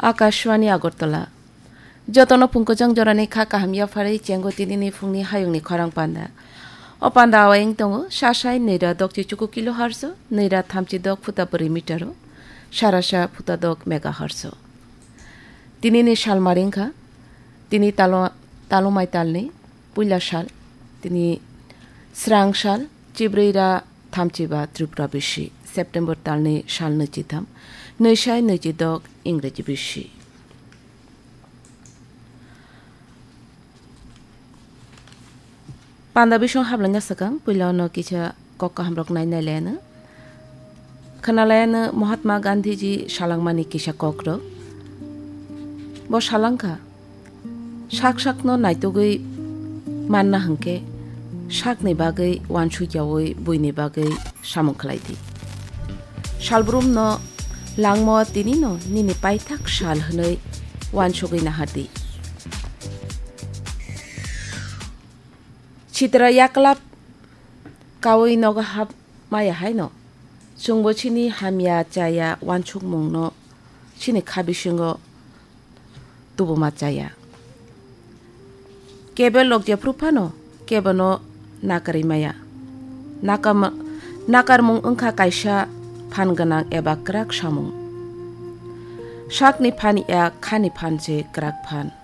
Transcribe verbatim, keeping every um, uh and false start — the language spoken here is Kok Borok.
Akashwani Agartala. Jotono phungkujang jorani kha kaham yapharwi chengo tinini phungni hayungni khorang panda. O panda awayeng tongo, sasai nira dokchi chuku kilohertz, nira thamchi dok phuta bwrwi meter, sarasa phuta dok megahertz. Tinini sal maringkha, tini talo, talo maitalni puila sal, tini srang sal, chibrwi ra thamchiba Tripura bisi, September talni sal nwichitham, nwisai nwichidok Ingreji bisi. Panda bisong hablaina swkang, puila ono kisa kok kahamrok nai nai layano. Khwnalayano Mahatma Gandhiji salangmani kisa kokrok. Bo salangkha, sak sakno naitugwi manna hwnkhe, sakni bagwi uansukyaui buini bagwi samung khlai di. Salbrumno langmo tinino nini paithak sal hwnwi uansugwi nahardi. Sitra yaklap kaui nogo hap maya haino, chwngbo chini hamya chaya uansukmungno chini kha bisingo tubuma chaya. Kebo lok jephru phano kebono nakarwi maya. Nakam-, nakarmung wngkha kaisa phan gwnang eba kwrak samung. Sakni phan ya khani phan se kwrak phan.